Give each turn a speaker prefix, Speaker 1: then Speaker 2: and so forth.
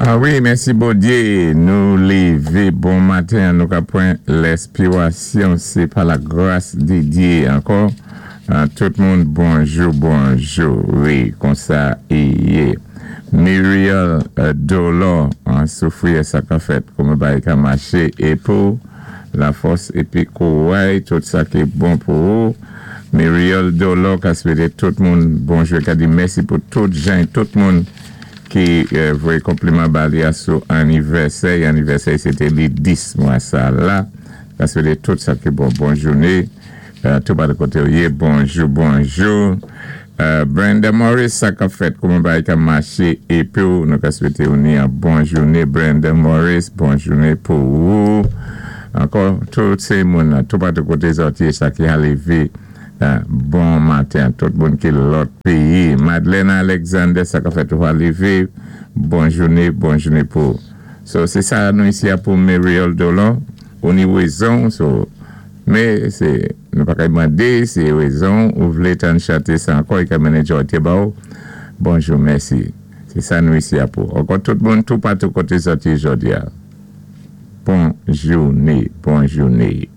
Speaker 1: Ah wi, mèsi Bondyé, nou lévé bon maten, nou ka pwan lèspirasyon, sé pa la gras di Dyé ankò. Tout moun bonjou bonjou, wi, konsa i yé. Muriel Dolor soufri sa ka fèt, kouman bagay ka maché é pou la fòs épi kouray, tout sa ki bon pou ou. Muriel Dolor ka swété tout moun bonjou, ka di mèsi pou tout jan tout moun ki voyé konpliman ba li a sou anivèsè. Anivèsè sé té li 10 mwa sa la. Ka swété tout sa ki bon, bon jouné tout patou koté ou yé. Bonjou bonjou. Brenda Morris, sa k ap fèt, kouman bagay ka maché é pou nou ka swété ou ni an bon jouné. Brenda Morris, bon jouné pou ou ankò. Tout sé moun tout patou koté zòt yé, sa ki lévé bon maten, tout moun ki lòt péyi. Madeleine Alexander, sa k ap fèt, ou lévé bon jouné, bon jouné pou. So sé sa nou isi a pou Muriel Dolor, ou ni wézon, so mé sé nou pa ka mandé si wézon ou vlé tann chanté sa ankò, i ka mennen jòtye ba ou. Bonjou, mèsi. Sé sa nou isi a pou. Ankò tout moun tout patou koté zòt yé jòdi a. Bon jouné, bon jouné.